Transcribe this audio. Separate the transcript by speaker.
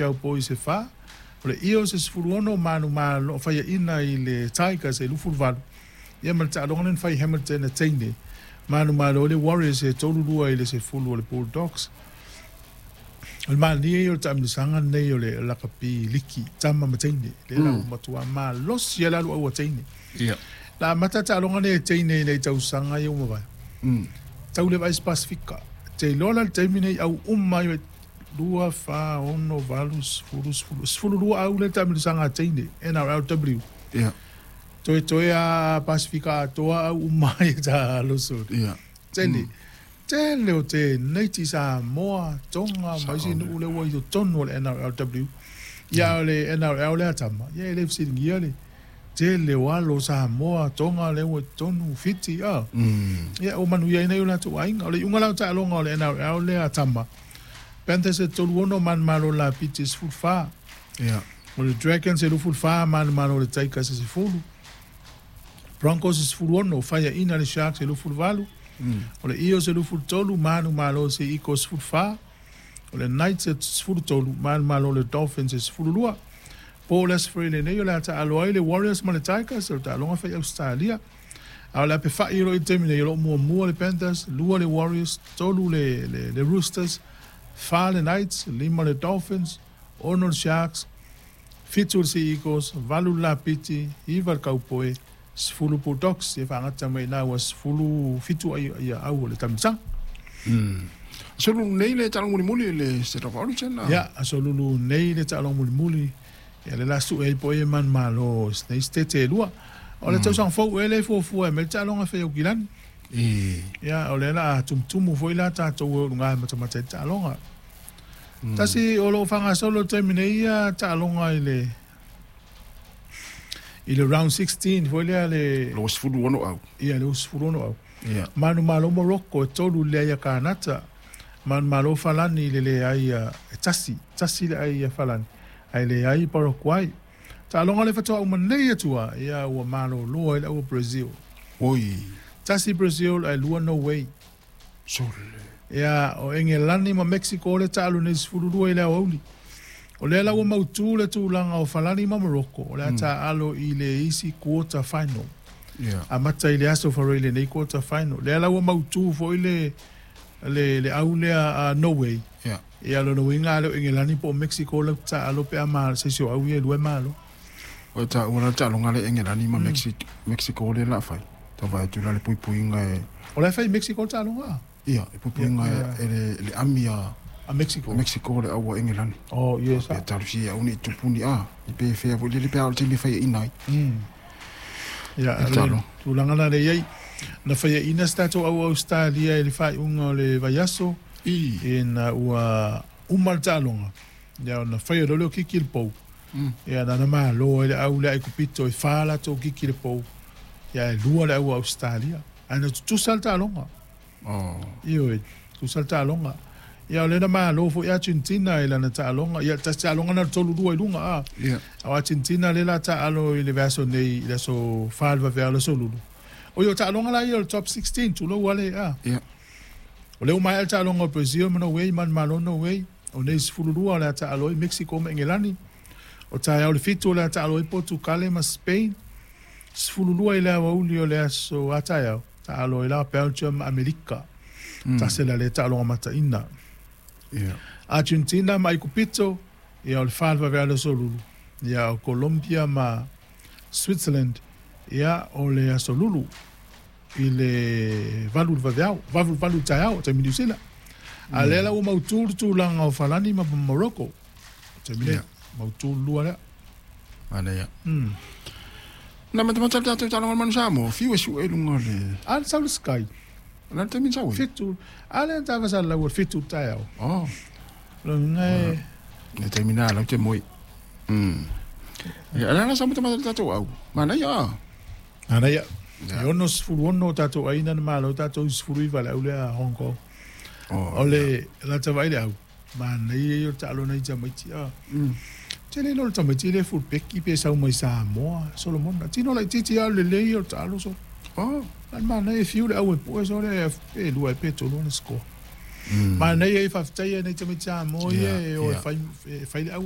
Speaker 1: Cowboys e 4, o le Eels e 16 manumalo faiaina i le Tigers e 28. Ia ma le taaloga lea na fai i Hamilton e teine, manumalo ai le Warriors e 32 i le 10 o le Bulldogs. O le manaia ia o le taamilosaga lenei o le lakapi liki, tama ma teine, lea la ua matua malosi ai le alu au a teine. Na amata taaloga nei e teine i nei tausaga ia ua mavae. Tau le vaai se Pasefika. Te iloa la le taimi nei au uma ai 2, 4, 6, 8, 10, 10, 12 au le taamilosaga a teine, NRLW. Toe toe a Pasefika atoa au uma ai ta aloso. Tele. Tele o te neiti Samoa, Tonga, ma isi nuu le ua i totonu o le NRLW. Ia o le NRL lea tama, ia e le fesiligia le tele o alo Samoa, Tonga le ua i totonu, Fiti, a. Ia o manuia ai nei o latou aiga. O le iuga la o taaloga o le NRL lea tama, Panthers e 36 manumalo Lapiti e 14. O le Dragons e 24 manumalo le Tigers e 10. Broncos e 16, faiaina le Sharks e 28. O le Eels e 23, manumalo se Eagles 14. O le Knights e 13, manumalo le Dolphins e 12. Po o le Aso Faraile nei o le a taalo ai le Warriors ma le Tigers, o le taaloga fai Australia. A o le ape fai o lo o i le taimi nei, o lo o muamua le Panthers, 2 le Warriors, 3 le Roosters, 4 le Knights, 5 le Dolphins, 6 le Sharks, 7 le Sea Eagles, 8 le Lapiti, 9 le Cowboy, 10 Bulldogs. Ia faagata mai ina ua 17 ai ia au o le taamilosaga.
Speaker 2: Aso Lulu nei le taaloga mulimuli i le State of Origin.
Speaker 1: Ia, aso Lulu nei le taaloga mulimuli. Ia le la sue ai po e manumalo nei sitete e lua. O le tausaga fou e le fuafua e mai le taaloga fai Aukilani. Ia, o lea la tumutumu foi la tatou e uluga e matamata i le taaloga. Tasi o loo faagasolo i le taimi nei ia taaloga i le round 16 foi lea le
Speaker 2: 26 au.
Speaker 1: Ia, le 26 au. Manumalo Morocco e 3 le leai a Kanata. Manumalo Falani i le leai a e tasi, tasi le ai a Falani, ae leai Paraguay. Taaloga le faatoa uma nei atua, ia ua malolo ai le au Brazil.
Speaker 2: Oi.
Speaker 1: 1 Brazil ae 2 Norway.
Speaker 2: Sole.
Speaker 1: Ia, o Engelani ma Mexico le taalo nei 12 i le aoauli. O lea la ua mautu le tulaga o Falani ma Morocco, o le a taalo i le isi quarter final. Amata i le aso Faraile nei quarter final. Lea la ua mautu foi le au lea a Norway. Ia lona uiga le o Engelani po o Mexico lau taalo pe a ma se isi o au ia e lua e malo.
Speaker 2: O ta ua la taaloga le Engelani ma Mexico le la fai. Tau vaai atu la le puipuiga e
Speaker 1: O la e fai Mexico le taaloga.
Speaker 2: Ia, e puipuiga e le ami a
Speaker 1: A Mexico.
Speaker 2: A Mexico le au a Engelani.
Speaker 1: Oh, yes.
Speaker 2: Pe talusi au ni tupuni a. I pe fea foi le pe au te me fai ina ai.
Speaker 1: Ia,
Speaker 2: E
Speaker 1: le
Speaker 2: talo.
Speaker 1: tulaga la le iai. Na faiaina se tatou au Australia i le faaiuga o le vaiaso. Ina ua uma le taaloga. Ia, ona faia loa lea o kiki i le pou. Ia, na malo ai le au lea ai kupito e 4 latou kiki i le pou. Ia, e 2 le au Australia. Ae na tutusa le taaloga. Ioe, tutusa le taaloga. Ia, o lea na malo foi Argentina i lana taaloga. Ia, tasi taaloga na le 3-2 i luga a. O Argentina lea la taalo i le vaiaso nei i le aso 4 le vaveao le aso Lulu. O ia o taaloga la ia o le top 16 tulou ale a. O lea ua maea le taaloga o Brazil ma Norway, manumalo Norway. O nei 12 o le a taalo ai Mexico ma Engelani. O taeao le 7 o le a taalo ai Portugal ma Spain. 12 i le aoauli o le aso a taeao, taalo ai la Belgium ma Amerika. Tasi la le taaloga mataina. Argentina ma Aikupito, ia o le 4 le vaveao le aso Lulu. Ia o Colombia ma Switzerland, ia o le aso Lulu i le 8 le vaveao, 8 le taeao, taimi New Zealand. A lea la ua mautu le tulaga o Falani ma Morocco. Taimi nei, mautu le lua lea.
Speaker 2: Ana ia. Na matamata le tatou taaloga o le Manu Samoa, fiu e sue i luga o le
Speaker 1: A le sau le Sky.
Speaker 2: O le taimi sau ai?
Speaker 1: 7. A lea na tavasa lau o le 7 le taeao.
Speaker 2: Oh.
Speaker 1: Lona e
Speaker 2: Le taimi nā lau te moe. Ia, ala la sa matamata le tatou au. Manaia a.
Speaker 1: Manaia. E 66 o tatou aina na malo tatou 19 le au lea Hong Kong.
Speaker 2: Oh,
Speaker 1: O le lata vai le au. Manaia ia o le taalo nei tamaiti a. Tele lo le tamaiti le fullback pe sau mai Samoa, Solomon. Tino la titi a le lei o le taalo so.
Speaker 2: Oh.
Speaker 1: Al manaia e fiu le au e pue so le e lua e pe tolu na score. Manaia e faafetai nei tamaiti Samoa ia e o e fai le au.